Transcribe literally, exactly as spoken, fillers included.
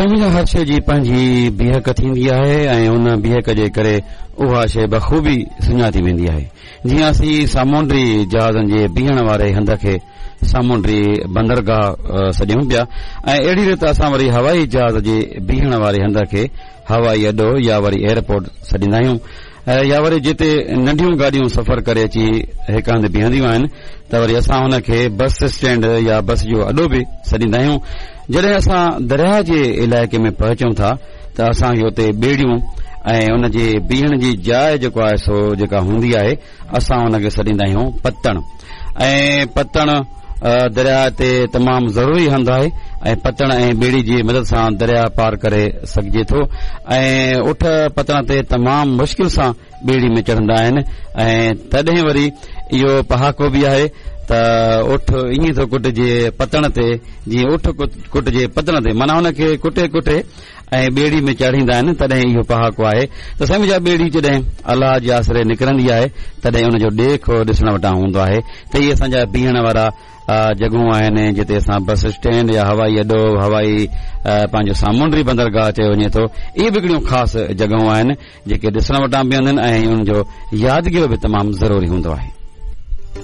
سائين هر شيء جي پنهنجي بيهڪ ٿيندي آهي ۽ ان بيهڪ جي ڪري اها شيء بخوبي سڃاتي ويندي آهي. جيئن اسين سامونڊي جهازن جي بيهڻ واري هنڌ کي سامونڊي بندرگاهه سڏيون پيا ۽ اهڙي ريت اسان وري هوائي جهاز جي بيهڻ واري هنڌ کي هوائي اڏو يا وري ايئرپورٽ سڏيندا آهيون، يا وري جتي ننڍيون گاڏيون سفر ڪري اچي هڪ هنڌ بيهنديون آهن ته وري اسان هن کي بس اسٽينڊ يا بس جو اڏو به سڏيندا آهيون. جڏهن اسان درياهه جي علائقي ۾ پهچون ٿا ته اسان کي اتي ٻيڙيون ۽ ان جي بيهڻ جي جاءِ جيڪو آهي سو جيڪا هوندي آهي اسان ان کي سڏيندا آهيون پتڻ. ۽ پتڻ درياهه تي تمام ضروري هنڌ آهي ۽ پتڻ ۽ ٻيڙي جي مدد سان درياهه پار ڪري سگهجي ٿو ۽ اٺ پتڻ تي تمام مشڪل سان ٻيڙي ۾ چڙهندا آهن. ۽ تڏهن وري اهو پهاڪو به آهي ته اٺ ائين ٿو ڪٽجي پتڻ تي جيئن اٺ ڪٽجي پتڻ تي، معنيٰ هن کي ڪٽي ڪٽي ۽ ٻيڙي ۾ چاڙهيندا آهن. تڏهن اهو پهاڪو آهي ته سائين منهنجا ٻيڙي جڏهن الله جي آسري نڪرندي آهي تڏهن ان جو ڏيک ڏسڻ وٽان هوندو آهي. ته اهي اسان جا بيهڻ وارا جڳهون آهن جتي اسان بس اسٽينڊ يا هوائي اڏو، هوائي پنهنجو سامونڊي بندرگاهه چيو وڃي ٿو، اهي به هڪڙيون خاص جڳهون آهن جيڪي ڏسڻ وٽان به هونديون آهن ۽ ان جو يادگيرو به تمام ضروري هوندو آهي.